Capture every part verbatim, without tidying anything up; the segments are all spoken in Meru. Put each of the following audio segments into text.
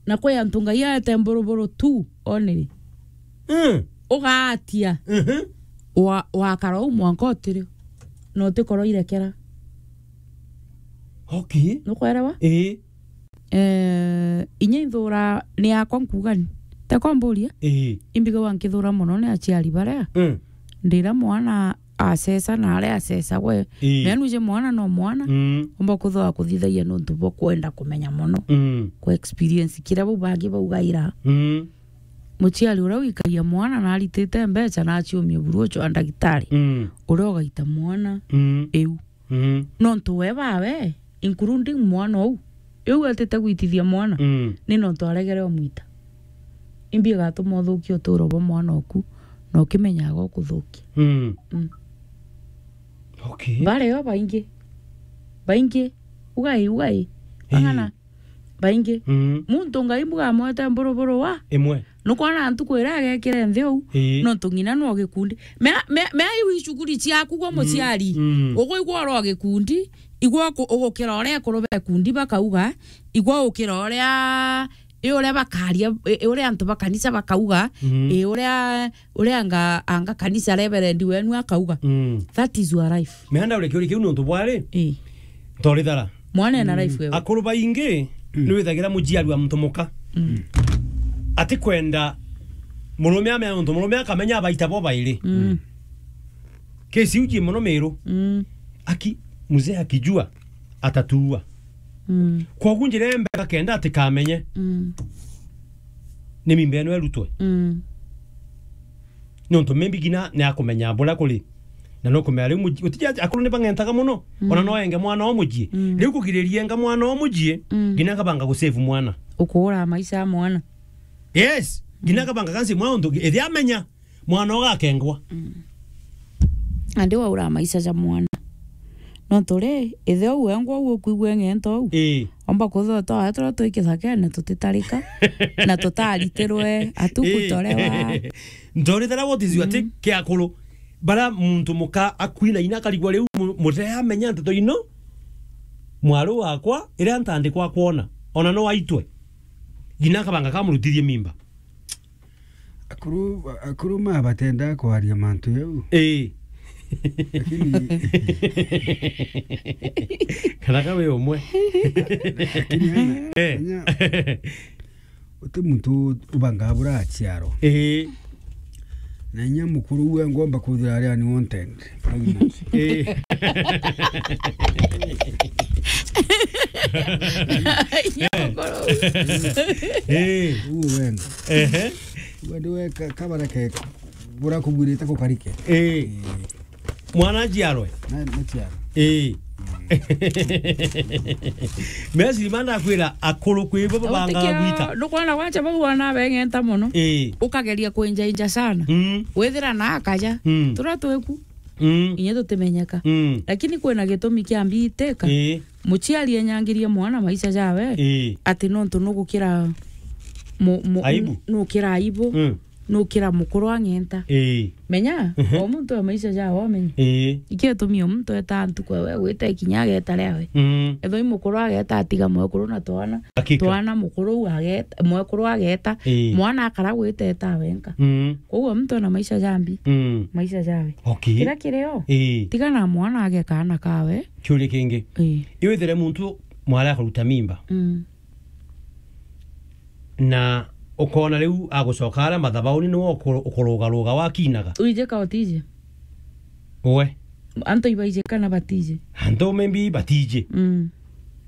Na kwi antu Ngai aete mburuburu tu, oniri. Mm. Ugaatia. Mhm. Wa-, wakara uu mwanka utirio. Na utikoro irekera. Okay. Nukwerewa? Ii. Eh, inya ithura ni yakwa nkuga ni. Teko mburia? Ii. Imbigagwa nkithura mono ni aciari baria. Mm. Ndira mwana acesa na aria acesa gwe. Ii. Mea nuje mwana no mwana. Mm. Umba kuthwa kuthithagia nuntu bwa kwenda kumenya mono. Mm. Ku experience kiria bau bangi baugaira. Mm. Muciari uria wikagia mwana na aritite mbeca na aciumia buru ucio wa ndagitari. Mm. Uria ugaita mwana. Mm. Iu. Mm. Nontu we bawe, including mwana uu, iu etite gwitithia mwana, mm, ni nontu aregere umwita. Imbi igatuma uthukia uturo bwa mwana oku, na ukimenyaga ukuthukia. Mm. Mm. Okay. Bario baingi. Baingi. Ugai, ugai. Ii. Ang'ana. Baingi. Mm. Muntu Ngai bugamwete mburuburu wa. Imwe. Nukwona ntuku iria agekire nthi uu, ii, nontu ng'ina no gikundi. Mea, mea, mea iu icuguri ciaku gwa, mm, muciari. Mm. Uguigwa oro gikundi, igwa uku-, ugukira uria ekuru ba ikundi bakauga, igwa ukira uria, i uria bakaria, i, i uria antu ba kanisa bakauga, mm, i uria, uria anga, anga kanisa reverend wenu akauga. Mm. That is your life. Meanda uri kiuri kiu nontu bwari. Ii. Ntorithara. Mwana ena, mm, life wewe. Akuru baingi, mm, ni withagira muciari wa muntu muka. Mm. Ati kwenda murume amenya nontu murume akamenya abaita bo bairi. Mm. Kesi uji mono Miru. Mm. Aki, mzee akijua atatuua. Mm. Kwogu njira ya mbere akenda atikamenye. Mm. Ni mimba ino irutwe. Mm. Nontu maybe ngina ni akumenya buria kuri. Na no kumenya riu muji-, utiji ati akuru ni bang'entaga mono. Mm. Ona no enge mwana o mucii. Mm. Riu kugiriria enga mwana o mucii, mm, ngina akabanga gu save mwana. Ukuura maisha ya mwana. Yes. Ngina, mm, akabanga kansi mwana untu ithi amenya mwana ugakengwa. Mm. Andi waura maisha ja mwana. Nontu ri, ithe uu wengwa uu ukwigua eng'ento uu. Ii. Omba kuthota oya turia twi kithakene tutitarika, na tutaritirwe atuku, ii, torewa. Ntorithera what is your, mm, take kia akuru. Bara muntu muka akwina ina akarigwa riu mu-, mutee amenya nteto ino. Mwaru wakwa, iria ntandikwa kwona, ona no aitwe. Ngina akabanga kamurutithie mimba. Akuru, akuru ma batenda kwaria mantu jau. Ii. Lakini kana ka wi umwe. Lakini ana, eh, anya, uti muntu ubangaa bura aciarwa. Ii. Na inya mukuru uwe ngomba kuthira aria ni wanted. Pregnant. Eh. Inya mukuru. Eh. Uwe wenda. Ehe. Uwe ndiwe ka-, kabara ke bura kugwirite gukarike. Eh. Eh. Mwana aciarwe? Na, na ciarwe. Eh. Mesi manda kwira akuru kwi bo banga gwita. Nukwona gwacha bau wana beng'enta mono. Eh. Ukageria kwenja inja sana. Mm. Withira na akaja. Mm. Tura tweku. Mm. Inya tutimenyeka. Mm. Lakini kwina gitumi kia mbiiteka. Ii. Muciari enyangirie mwana maisha jawe. Ii. Ati nontu nugukira mu-, mu-, aibu. Nukira aibu. Mm. Nukira mukuru ang'enta. Ii. Menya, mhm, o muntu e maisha jawe omenye. Ii. Ikio gitumi o muntu eta ntuku ewe gwita ikinya ageta riawe. Mm. Ethwa i mukuru ageta atiga mwekuru na twana. Hakika. Twana mukuru u ageta, mwekuru ageta, ii, mwana akara gwita eta wenka. Mm. Koguo muntu ena maisha jambi. Mm. Maisha jawe. Okay. Kira kirio, ii, tiga na mwana age kaana kawe. Kiuria kingi. Ii. Iwithire muntu mwari akaruta mimba. Mm. Na ukona riu agucoka aria mathabauni niwe ukuru-, ukurugaruga wakinaga. Uijika utije? Uwe. Antu ibaijika na batije? Antu maybe batije. Mm.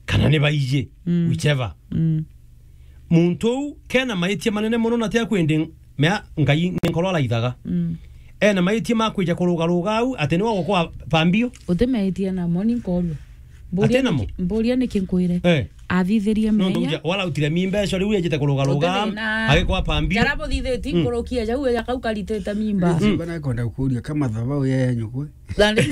Kana ni baije. Mm. Whichever. Mm. Muntu uu kena maitia manene mono na tia kwendi mea Ngai ni nkoro araithaga. Mm. Ena maitia ma kwija kurugaruga au ati niwe gukwa pambio. Uti maitia namo ni nkorua. Ati namo? Mburia niki nkwire? Eh. Athithirie. Nontu meya. Uja, wala utire mimba icio riu ejite kurugaruga, uti thina, agikwa pambio. Jara buthithitie, mm, nkurukia jau eja kau karitite mimba. Mm. Bana kwenda kukuria kama thabau ya nyukwe. Nandi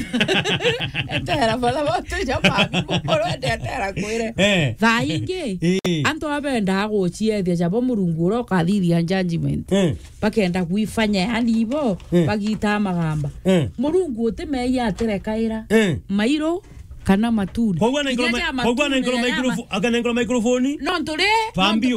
etera bala bote ja mabi mukoro ende etera kwire. Eh. Thaa ingi, eh, antu abendaga guciethia jabo Murungu uria ukathithia judgment. Eh. Bakenda gwifanya yani ibo, eh, bagita magamba. Eh. Murungu utimeia atirekaira. Eh. Mairu kana matunda. Koguo anaikora, kinya ma-, ja koguo matunda anaikora na microfo-, akanengora microphone. Nontu ri, pambio.